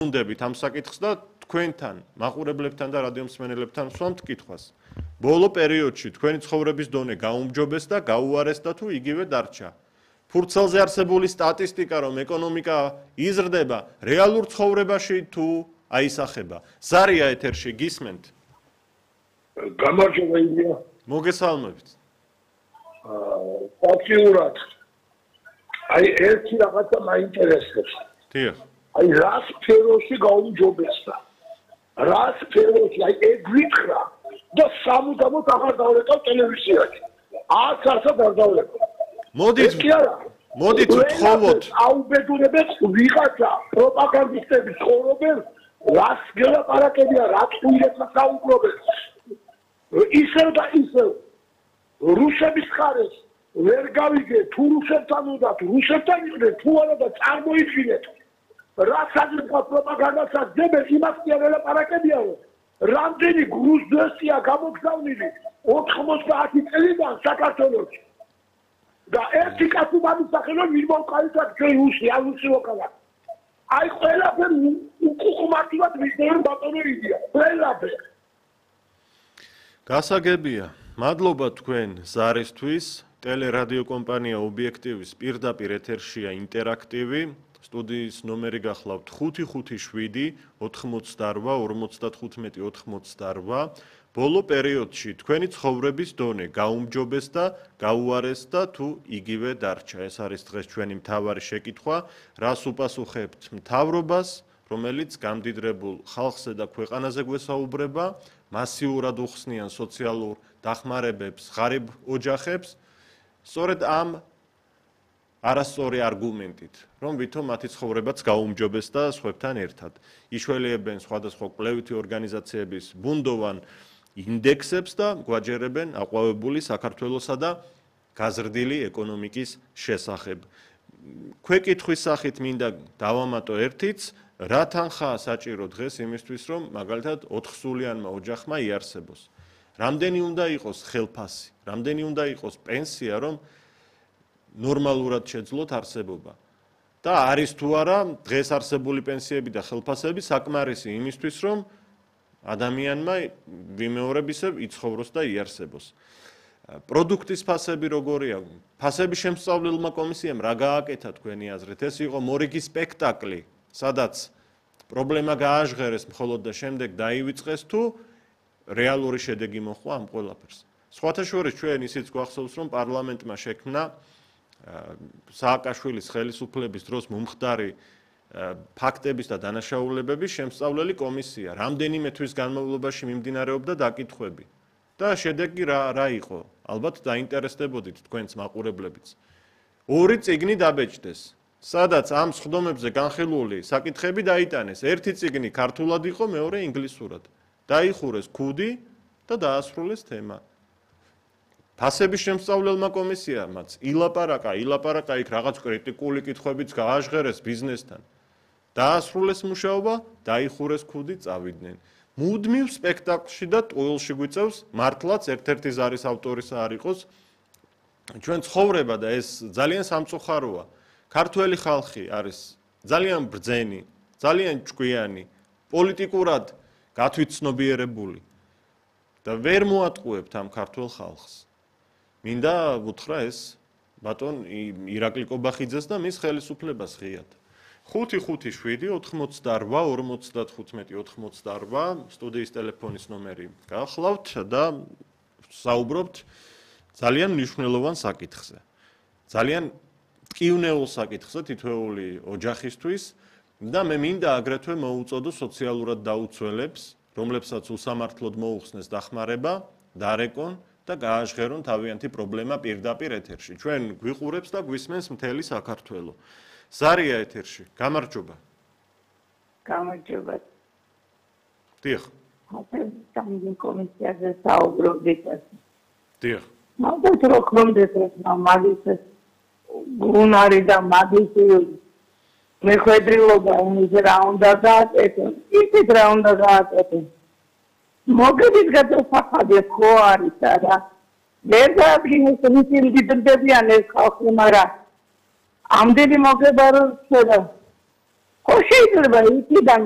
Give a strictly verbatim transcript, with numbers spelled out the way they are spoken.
უნდებით ამ საკითხს და თქვენთან, მაყურებლებთან და რადიომსმენელებთან ვსვამთ კითხვას. ბოლო პერიოდში თქვენი ცხოვრების დონე გაუმჯობეს და გაუარესდა თუ იგივე დარჩა. ფურცელზე არსებული სტატისტიკა, რომ ეკონომიკა იზრდება, რეალურ ცხოვრებაში თუ აისახება. ზარია ეთერში გისმენთ? გამარჯობა ილია. მოგესალმებით. ფაქტიურად აი ერთი რაღაცა მაინტერესებს. დიახ. აი რა სფეროში გაუმჯობესდა. რა სფეროში აი ეგრითხრა და სამუდამოდ აღარ დავლეკავ ტელევიზიაში. არც არცად არ დავლეკავ. მოდით მოდით ვთხოვოთ. აუბედურებენ ვიღაცა პროპაგანდისტები ცხოვრობენ რას გელაპარაკებია რა ტყუილებს საუბრობენ. ისევ და ისევ რუსების ხარეს ვერ გავიგე თუ რუსებთან უნდა თუ რუსებთან იყდეთ თუ არა და წარმოიდგინეთ რა საერთო პროპაგანდასაც დებენ იმას კი არ ელაპარაკებია რომ რამდენი გრუზდესია გამოგზავნილი ოთხმოცდაათი წელიდან საქართველოში და ერთი კაცი გამისახელო მიმოვყავდა ჩვენ რუსი არ რუსი ვოკალა აი ყველაფერი უკუღმართულად მისდევენ ბატონო იდია ყველაფერი გასაგებია მადლობა თქვენ ზარისთვის ტელერადიო კომპანია ობიექტივის პირდაპირ ეთერშია ინტერაქტივი სტუდიის ნომერი გახლავთ ხუთი ხუთი შვიდი ოთხმოცდაორვა ორმოცდათხუთმეტი ოთხმოცდაორვა ბოლო პერიოდში თქვენი ცხოვრების დონე გაუმჯობეს და გაუარესდა თუ იგივე დარჩა ეს არის დღეს ჩვენი მთავარი შეკითხვა რას უპასუხებთ მთავრობას რომელიც გამდიდრებულ ხალხზე და ქვეყანაზე გვესაუბრება მასიურად უხსნიან სოციალურ დახმარებებს ღარიბ ოჯახებს სწორედ ამ არასწორი არგუმენტით რომ ვითომ მათი ცხოვრებაც გაუმჯობეს და სხვებთან ერთად იშველიებენ სხვადასხვა კვლევითი ორგანიზაციების ბუნდოვან ინდექსებს და გვაჯერებენ აყვავებული საქართველოსა და გაზრდილი ეკონომიკის შესახებ ქვეკითხვის სახით მინდა დავამატო ერთიც რა თანხაა საჭირო დღეს იმისთვის რომ მაგალითად ოთხსულიანმა ოჯახმა იარსებოს რამდენი უნდა იყოს ხელფასი რამდენი უნდა იყოს პენსია რომ ნორმალურად შეძლოთ არსებობა და არის თუ არა დღეს არსებული პენსიები და ხელფასები საკმარისი იმისთვის რომ ადამიანმა ვიმეორებისებ იცხოვროს და იარსებოს პროდუქტის ფასები როგორია ფასების შემსწავლელმა კომისიამ რა გააკეთა თქვენი აზრით ეს იყო მორიგი სპექტაკლი სადაც პრობლემა გააჟღერეს მხოლოდ და შემდეგ დაივიწყეს თუ რეალური შედეგი მოხდა ამ ყველაფერს სხვათა შორის ჩვენ ისიც გვახსოვს რომ პარლამენტმა შექმნა სააკაშვილის ხელისუფლების დროს მომხდარი ფაქტების და დანაშაულებების შემსწავლელი კომისია რამდენიმე თვის განმავლობაში მიმდინარეობდა დაკითხვები და შედეგი რა რა იყო ალბათ დაინტერესდებოდით თქვენს მაყურებლებიც ორი წიგნი დაბეჭდეს სადაც ამ სხდომებზე განხილული საკითხები დაიტანეს ერთი წიგნი ქართულად იყო მეორე ინგლისურად დაიხურეს ქუდი და დაასრულეს თემა ფასების შემსწავლელმა კომისიამაც ილაპარაკა ილაპარაკა იქ რაღაც კრიტიკული კითხვებიც გააჟღერეს ბიზნესთან დაასრულეს მუშაობა დაიხურეს ქუდი წავიდნენ მუდმივ სპექტაკლში და ტყუილში გვიწევს მართლაც ერთ-ერთი ზარის ავტორისა არ იყოს ჩვენ ცხოვრება და ეს ძალიან სამწუხაროა ქართველი ხალხი არის ძალიან ბრძენი ძალიან ჭკვიანი პოლიტიკურად გათვითცნობიერებული და ვერ მოატყუებთ ამ ქართულ ხალხს მინდა ვუთხრა ეს ბატონ ირაკლი კობახიძეს და მის ხელისუფლებას ღიად ხუთი ხუთი შვიდი ოთხმოცდაორვა ორმოცდათხუთმეტი ოთხმოცდაორვა სტუდიის ტელეფონის ნომერი გახლავთ და საუბრობთ ძალიან მნიშვნელოვან საკითხზე ძალიან ტკივნეულ საკითხზე თითოეული ოჯახისთვის და მე მინდა აგრეთვე მოუწოდო სოციალურად დაუცველებს რომლებსაც უსამართლოდ მოუხსნეს დახმარება დარეკონ და გააჟღერონ თავიანთი პრობლემა პირდაპირ ეთერში. ჩვენ გვიყურებს და გვისმენს მთელი საქართველო. ზარია ეთერში. გამარჯობა. გამარჯობა. დიახ. სამი კომისიაზე საუბრობდით. დიახ. ალბათ რო გქონდეს ეს მაგის გუნარი და მაგის მეხვედრილობა უმის რა უნდა გააკეთონ. ისიც რა უნდა გააკეთონ. მოგებით გადასახადი ხო არის და ვერ დაადგინეს ისინი დიდდებიან ეს ხალხი მაგრამ ამდენი მოგება რომ შედა ხო შეიძლება იქიდან